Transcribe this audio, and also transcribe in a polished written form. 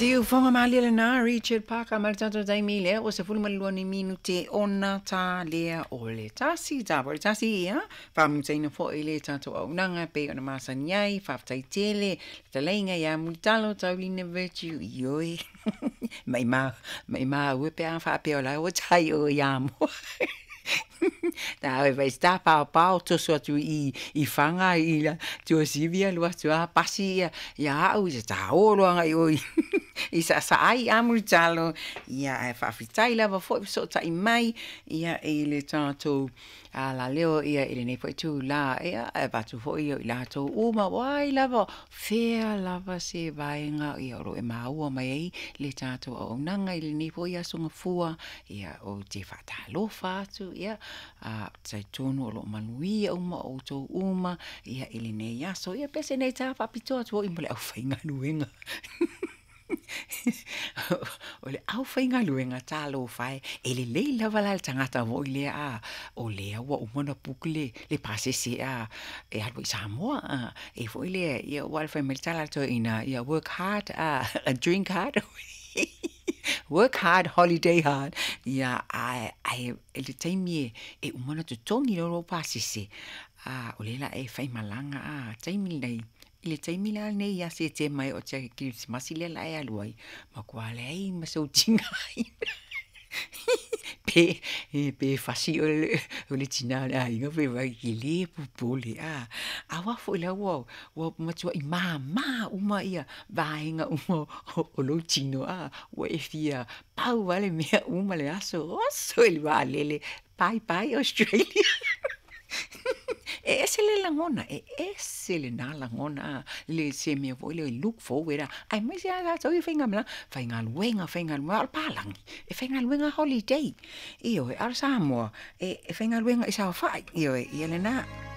Siufoga malie lena Richard Parker ma le tatou taimi lea ua 12 ni minute ona ta lea o le tasi ta po le tasi ia faamutaina foi le tatou auaunaga e pei ona masani ai faafetai tele le fetalaiga ia Mulitalo Taulina Virtue ioe maimau maimau e pe a faapea o la ua tai o ia moa Ta vai sta pao pao toso atu i i Faga i la Tuasivi alu atu a pasi ia ia au i ta olo anga i oi i sa sa ai a Mulitalo ia ae faafetai lava foi fesootai mai ia i le tatou alaleo ia i lenei foi itulā ia e avatu foi ia i latou uma o ai lava fea lava se vaega ia o lo o e maua mai ai le tatou auaunaga i lenei foi aso Gafua ia ou te faatalofa atu ia a talitonu o lo o manuia uma outou uma ia i lenei aso. Ia pe se nei tā faapitoa atu foi mo le aufaigaluega. O le aufaigaluega talofa e, e lelei lava la le tagata foi lea a o lea ua uma ona book le, le pasese a e alu ai i Samoa a e foi lea ia aua le fai mai le tala a le toeaina ia work hard a drink hard work hard holiday hard ia ae ae i le taimi e uma ona totogi loa lou pasese a o lea la e faimalaga a taimi lenei i le taimi la lenei ia Setema e oo atu ia Kerisimasi lea la e alu ai matua leai ma sou tigaina pe pe fasi oe o le tina o le aiga pe fai e le popole a aua foi la ua ua matuai mama uma ia vaega uma o lou tino a ua e fia pau lava le mea uma le aso, oso i le vaalele, bye bye Australia. E ese le lagona, e ese lena lagona, le se mea foi lea look forward, aemaise lava tatou ia faigamalaga, faigaluega, faigaluega, a o le palagi, e faigaluega holiday. Ioe, a o le Samoa, e faigaluega i saofai, ioe, ia lena.